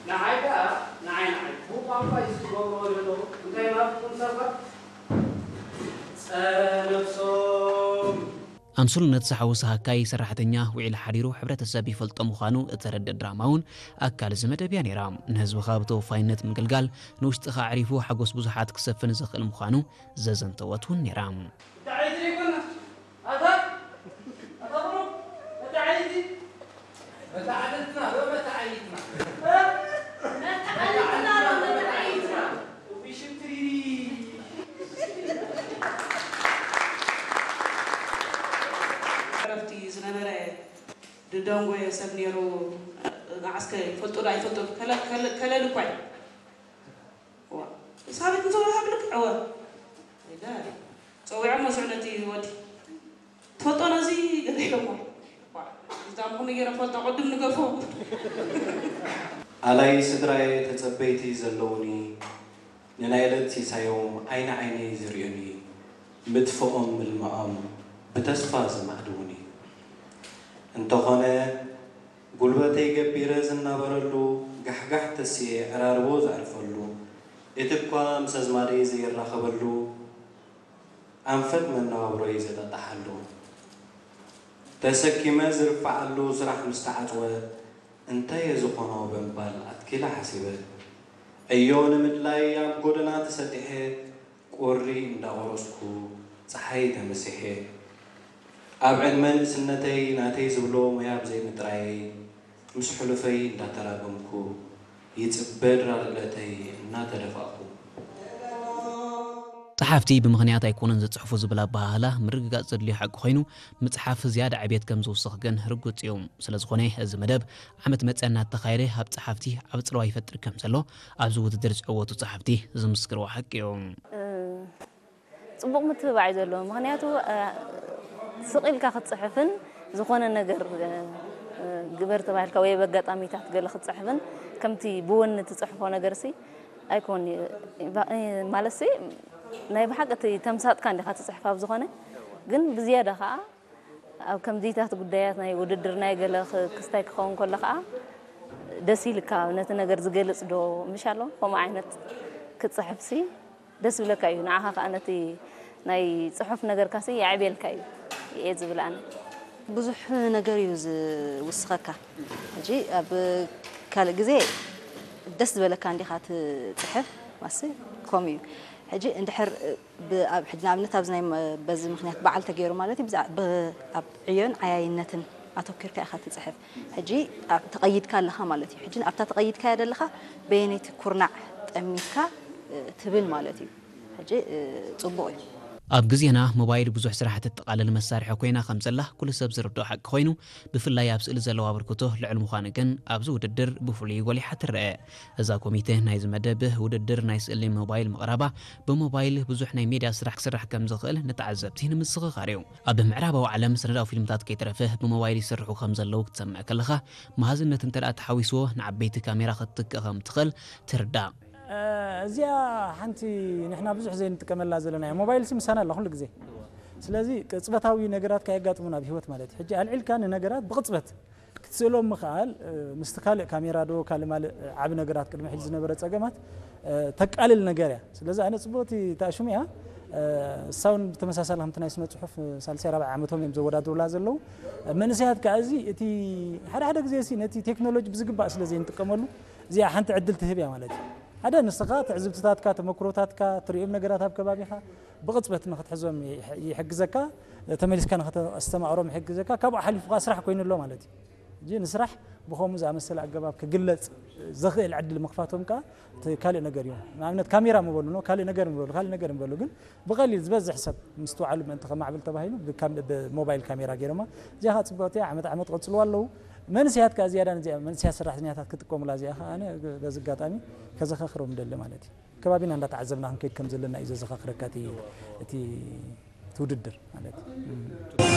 ንዓይ ከኣ ንዓይ ንዓይ ብቋንቋ እዩ ዝገብርዎ ዘለዉ እንታይ ናትኩም ሰባት ጸረ ነብሶም። ኣምሱልነት ዝሓወሰ ሃካይ ሰራሕተኛ ውዒሉ ሓዲሩ ሕብረተሰብ ይፈልጦ ምዃኑ እተረድእ ድራማ እውን ኣካል እዚ መደብ እያ ነይራ። ንህዝብኻ ብተወፋይነት ምግልጋል ንውሽጥኻ ኣዕሪፉ ሓጎስ ብዙሓት ክሰፍን ዘኽእል ምዃኑ ዘዘንተወት እውን ነይራ። ዕረፍቲ ዝነበረ ድደንጎየ ሰብ ነይሩ። መዓስከ ይፈልጦ ዶ ኣይፈልጦ ከለል እኳ እዩ። ሳቤት ንዘውራ ሃብልክ ዕወ ጸዊዖም መስዑ ነቲ ወዲ ትፈልጦ ነዚ ገለ ኢሎሞ እዛም ከመይ ገይረ ፈልጦ ቅድም ንገፎ። ኣላይ ስድራየ ተጸበይቲ ዘለውኒ፣ ንናይ ዕለት ሲሳዮም ዓይኒ ዓይነይ ዝርእዩኒ፣ ምጥፍኦም ምልምዖም ብተስፋ ዝማዕድዉኒ። እንተኾነ ጉልበተይ ገቢረ ዝናበረሉ፣ ጋሕጋሕ ተስየ ዕራርቦ ዘዕርፈሉ፣ እቲ እኳ ምስ ኣዝማደይ ዘይራኸበሉ፣ ኣንፈት መነባብሮይ ዘጠጣሓሉ፣ ተሰኪመ ዝርፍዓሉ ስራሕ ምስ ተዓጽወ፣ እንታየ ዝኾኖ ብምባል ኣትኪለ ሓሲበ። ዕዮ ንምድላይ ኣብ ጎደና ተሰጢሐ፣ ቁሪ እንዳቆረስኩ ጸሓይ ተመሲሐ። ኣብ ዕድመ ንእስነተይ ናተይ ዝብሎ ሞያ ብዘይምጥራየይ፣ ምስ ሕሉፈይ እንዳተራገምኩ፣ ይጽበ ድራር ዕለተይ እናተደፋእኩ። ጸሓፍቲ ብምኽንያት ኣይኮኑን ዝጽሕፉ ዝብል ኣበሃህላ ምርግጋጽ ዘድልዮ ሓቂ ኮይኑ፣ ምጽሓፍ ዝያዳ ዕብየት ከም ዝውስኽ ግን ርጉጽ እዩ። ስለ ዝኾነ፣ እዚ መደብ ዓመት መጸ እናተኻየደ ኣብ ጸሓፍቲ ዓቢ ጽልዋ ይፈጥር ከም ዘሎ ኣብዚ ውድድር ዝዕወቱ ጸሓፍቲ ዝምስክርዎ ሓቂ እዩ። ጽቡቕ ምትብባዕ እዩ ዘለዎ። ምኽንያቱ፣ እ፣ ስቕ ኢልካ ክትጽሕፍን ዝኾነ ነገር፣ እ፣ እ፣ ግበር ተባሂልካ ወይ በጋጣሚታት ገለ ክትጽሕፍን ከምቲ ብወኒ ትጽሕፎ ነገርሲ ኣይኮን እዩ። ባ-፣ እ፣ ማለትሲ ናይ ብሓቂ እቲ ተምሳጥካ እንዲኻ ትጽሕፍ ኣብ ዝኾነ፣ ግን ብዝያዳ ኸኣ ኣብ ከምዚታት ጉዳያት ናይ ውድድር ናይ ገለ ክ-፣ ክስታይ ክኸውን ከሎ ኸኣ ደስ ኢልካ ነቲ ነገር ዝገልጽ ዶ ምሽ ኣሎ? ከምኡ ዓይነት ክትጽሕፍሲ ደስ ይብለካ እዩ። ንዓኻ ከኣ ነቲ ናይ ጽሑፍ ነገርካሲ የዕብየልካ እዩ እየ ዝብል ኣነ። ብዙሕ ነገር እዩ ዝውስኸካ። ሕጂ ኣብ ካልእ ግዜ ደስ ዝበለካ እንዲኻ ትጽሕፍ፣ ማሲ ከምኡ እዩ። ሕጂ እንድሕር ብ-፣ ኣብ፣ ሕጂ ንኣብነት ኣብዚ ናይ መ-፣ በዚ ምኽንያት በዓል ተገይሩ ማለት እዩ፣ ብዛ-፣ ብ-፣ ኣብ ዕዮን ዓያይነትን ኣተኲርካ ኢኻ ትጽሕፍ። ሕጂ ኣብ፣ ተቐይድካ ኣለኻ ማለት እዩ። ሕጂ ኣብታ ተቐይድካያ ዘለኻ በየነይቲ ኩርናዕ ጠሚትካ፣ እ፣ ትብል ማለት እዩ። ሕጂ፣ እ፣ ጽቡቕ እዩ። ኣብ ግዜና ሞባይል ብዙሕ ስራሕ እተጠቓልል መሳርሒ ኮይና ከም ዘላ ኩሉ ሰብ ዝርድኦ ሓቂ ኮይኑ፣ ብፍላይ ኣብ ስእሊ ዘለዎ ኣበርክቶ ልዑል ምዃኑ ግን ኣብዚ ውድድር ብፍሉይ ጎሊሓ ትረአ። እዛ ኮሚተ ናይዚ መደብ ውድድር ናይ ስእሊ ሞባይል ምቕራባ፣ ብሞባይል ብዙሕ ናይ ሜድያ ስራሕ ክስራሕ ከም ዝኽእል ንተዓዘብቲ ንምስኽኻር እዩ። ኣብ ምዕራባዊ ዓለም ሰነዳዊ ፊልምታት ከይተረፈ ብሞባይል ይስርሑ ከም ዘለዉ ክትሰምዕ ከለኻ፣ መሃዝነት እንተ ደኣ ተሓዊስዎ ንዓበይቲ ካሜራ ክትትክእ ከም ትኽእል ትርዳእ። እ፣ እዚኣ ሓንቲ ንሕና ብዙሕ ዘይንጥቀመላ ዘለና እያ። ሞባይል ሲ ምሳና ኣላ ኩሉ ግዜ። ስለዚ ቅጽበታዊ ነገራት ከየጋጥሙና ኣብ ህይወት ማለት እዩ። ሕጂ ኣልዒልካ ንነገራት ብቕጽበት ክትስእሎም ምኽኣል፣ እ፣ ምስቲ ካልእ ካሜራ ዶ ካልእ ማልእ ዓቢ ነገራት ቅድሚ ሕጂ ዝነበረ ጸገማት፣ እ፣ ተቃልል ነገር እያ። ስለዚ ኣነ ጽቡቕቲ እታ ሽሙ እያ። እ፣ እሳ እውን ብተመሳሳሊ ከምቲ ናይ ስነ ጽሑፍ ሳልሳይ ራብዓይ ዓመቶም እዮም ዘወዳድሩላ ዘለዉ። መንእሰያት ከኣ እዚ እቲ ሓደ ሓደ ግዜ ሲ ነቲ ቴክኖሎጂ ብዝግባእ ስለ ዘይንጥቀመሉ፣ እዚኣ ሓንቲ ዕድል ትህብ እያ ማለት እዩ። ሓደ ንስኻ ትዕዝብትታትካ፣ ተመክሮታትካ፣ ትርእዮም ነገራት ኣብ ከባቢኻ ብቕጽበት ንኽትሕዞም ይሕ-፣ ይሕግዘካ። ተመሊስካ ንኽተስተማቕሮም ይሕግዘካ። ካብኡ ሓሊፉ ከኣ ስራሕ ኮይኑ ኣሎ ማለት እዩ። ሕጂ ንስራሕ ብኸምኡ ዝኣመሰለ ኣገባብ ክግለጽ ዘኽእል ዕድል ምኽፋቶም ከኣ እቲ ካልእ ነገር እዩ። ንኣብነት ካሜራ ምበሉ፣ ካልእ ነገር ምበሉ፣ ካልእ ነገር ምበሉ፣ ግን ብቐሊል ዝበዝሕ ሰብ ምስትውዓሉ ምእንቲ ከማዕብል ተባሂሉ ብካም-፣ ብሞባይል ካሜራ ገይሮማ። እዚኣ ከኣ ጽብቕቲ እያ፣ ዓመት ዓመት ቀጽልዋ ኣለዉ። መንእሰያት ከኣ ዝያዳ ነዚኣ መንእሰያት ሰራሕተኛታት ክጥቀሙላ እዚኣ ከኣ ኣነ በዚ ኣጋጣሚ ከዘኻኽሮም እደሊ ማለት እዩ። ከባቢና እንዳተዓዘብና ክንከይድ ከም ዘለና እዩ ዘዘኻኽረካ እቲ፣ እቲ፣ እቲ ውድድር ማለት እዩ።